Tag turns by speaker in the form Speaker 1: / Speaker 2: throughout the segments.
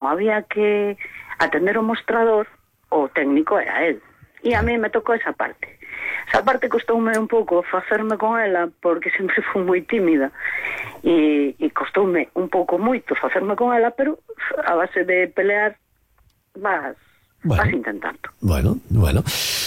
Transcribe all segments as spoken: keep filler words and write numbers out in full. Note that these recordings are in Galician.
Speaker 1: había que atender o mostrador, o técnico era él. E a mí me tocou esa parte. Esa parte costoume un pouco facerme con ela, porque sempre fui moi tímida. E, e costoume un pouco moito facerme con ela, pero a base de pelear vas...
Speaker 2: Bueno,
Speaker 1: vas intentando.
Speaker 2: Bueno, bueno.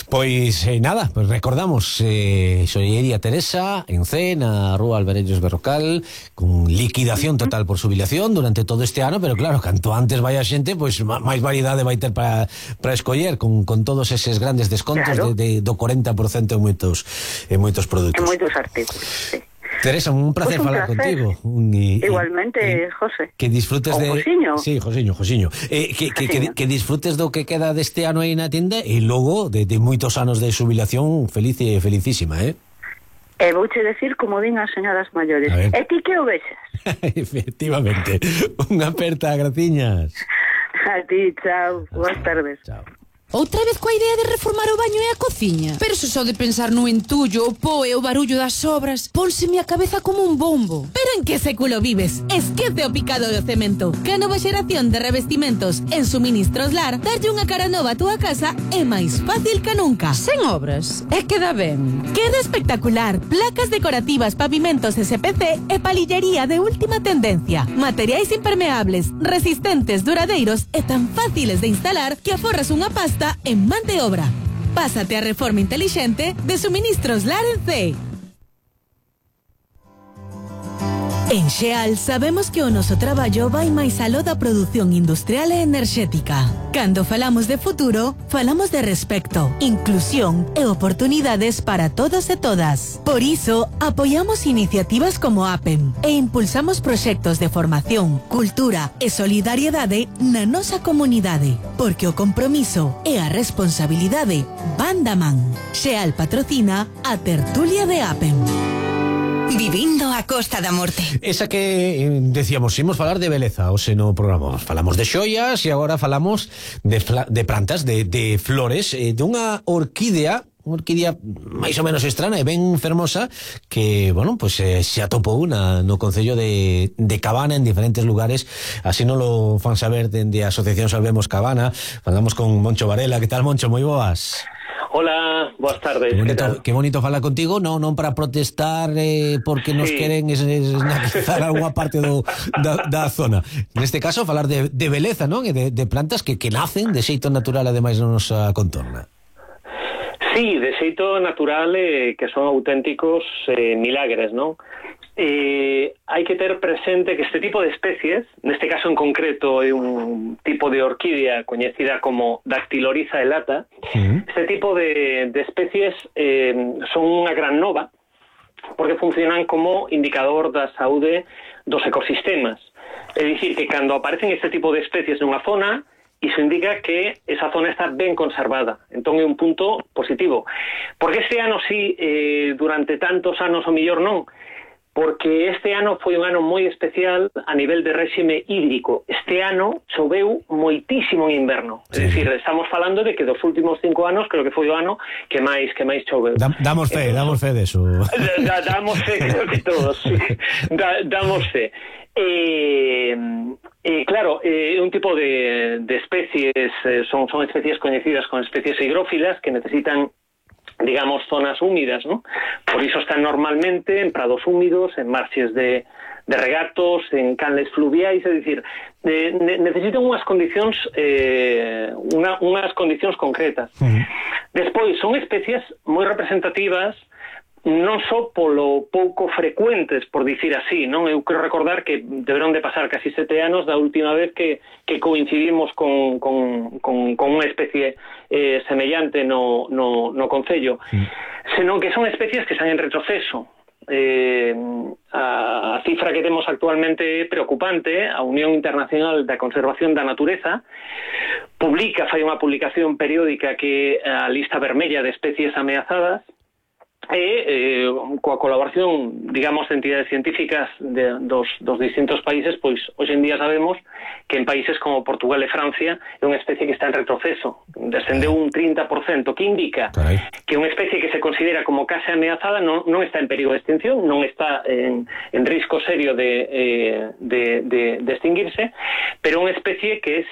Speaker 2: Pois eh, nada, pues recordamos eh, Xollería Teresa en C, na Rúa Alvarellos Berrocal, con liquidación total por xubilación durante todo este ano, pero claro, canto antes vai a xente, pois máis variedade vai ter para para escoller, con, con todos eses grandes descontos, claro, de, de do cuarenta por ciento en moitos en moitos produtos.
Speaker 1: En moitos artículos, sí.
Speaker 2: Teresa, un placer pues un falar placer. contigo. Un, y,
Speaker 1: Igualmente,
Speaker 2: y,
Speaker 1: José.
Speaker 2: Que disfrutes
Speaker 1: o
Speaker 2: de...
Speaker 1: Josiño.
Speaker 2: Sí, Josiño, Josiño. Eh, que, que, que, que disfrutes do que queda deste ano aí na tienda e logo de, de moitos anos de xubilación feliz e felicísima, eh?
Speaker 1: E vouche decir como din as señoras maiores. E ti que o vexas?
Speaker 2: Efectivamente. Unha aperta, graciñas.
Speaker 1: A ti, chao. Boas tardes.
Speaker 2: Chao.
Speaker 3: Outra vez coa idea de reformar o baño e a cociña? Pero se só de pensar no entullo, o po e o barullo das obras, pónseme a cabeza como un bombo. Pero en que século vives? Esquece o picado do cemento. Que a nova xeración de revestimentos en Suministros Lar darlle unha cara nova a túa casa é máis fácil que nunca. Sen obras. E queda ben. Queda espectacular. Placas decorativas, pavimentos S P C e palillería de última tendencia. Materiais impermeables, resistentes, duradeiros e tan fáciles de instalar que aforras unha pasta en man de obra. Pásate a reforma inteligente de Suministros Lar en C. En Xeal sabemos que o noso traballo vai máis aló da produción industrial e enerxética. Cando falamos de futuro, falamos de respecto, inclusión e oportunidades para todos e todas. Por iso, apoiamos iniciativas como APEM e impulsamos proxectos de formación, cultura e solidariedade na nosa comunidade, porque o compromiso e a responsabilidade van da man. Xeal patrocina a tertulia de APEM. Vivindo a Costa da Morte.
Speaker 2: Esa que eh, decíamos, imos falar de beleza, o se no programa falamos de xoias e agora falamos de, de plantas, de, de flores, eh, de unha orquídea, unha orquídea máis ou menos estrana e ben fermosa que, bueno, pues eh, se atopou na, no concello de, de Cabana en diferentes lugares, así non lo fan saber dende a Asociación Salvemos Cabana. Falamos con Moncho Varela. Que tal, Moncho? Moi boas.
Speaker 4: Hola, boas tardes.
Speaker 2: Qué bonito, qué bonito falar contigo, non non para protestar eh, porque nos sí. queren esnaquizar algunha parte do, da, da zona. Neste caso, falar de, de beleza, non? E de, de plantas que, que nacen de xeito natural, ademais, na nosa contorna.
Speaker 4: Sí, de xeito natural, eh, que son auténticos eh, milagres, non? Eh, hai que ter presente que este tipo de especies, neste caso en concreto é un tipo de orquídea coñecida como Dactylorhiza elata. Uh-huh. Este tipo de, de especies eh, son unha gran nova porque funcionan como indicador da saúde dos ecosistemas. É dicir, que cando aparecen este tipo de especies nunha zona, iso indica que esa zona está ben conservada. Entón é un punto positivo. Porque este ano sí, eh, durante tantos anos o millor non, porque este ano foi un ano moi especial a nivel de réxime hídrico. Este ano choveu moitísimo en inverno. Sí. É dicir, estamos falando de que dos últimos cinco anos creo que foi o ano que máis que máis choveu.
Speaker 2: Da, damos fe, Entonces, damos fe de eso.
Speaker 4: Da, damos fe, creo que todos, sí. Da, damos fe. Eh, eh, claro, é eh, un tipo de, de especies, eh, son, son especies coñecidas como especies higrófilas que necesitan, digamos, zonas húmidas, ¿no? Por iso están normalmente en prados húmidos, en marxes de, de regatos, en canles fluviais, é dicir, eh, ne, necesitan unhas condicións eh, unha, unhas condicións concretas. Uh-huh. Despois, son especies moi representativas non só polo pouco frecuentes, por dicir así, non? Eu quero recordar que deberon de pasar casi sete anos da última vez que, que coincidimos con, con, con, con unha especie eh, semellante no, no, no concello, sí. Senón que son especies que están en retroceso. Eh, a, a cifra que temos actualmente é preocupante. A Unión Internacional da Conservación da Natureza publica, fai unha publicación periódica que a lista vermella de especies ameazadas, e eh, coa colaboración, digamos, de entidades científicas de, dos, dos distintos países, pois hoxe en día sabemos que en países como Portugal e Francia é unha especie que está en retroceso, descendeu un trinta por cento, que indica Carai. que unha especie que se considera como case ameazada non, non está en perigo de extinción, non está en, en risco serio de, eh, de, de, de extinguirse, pero unha especie que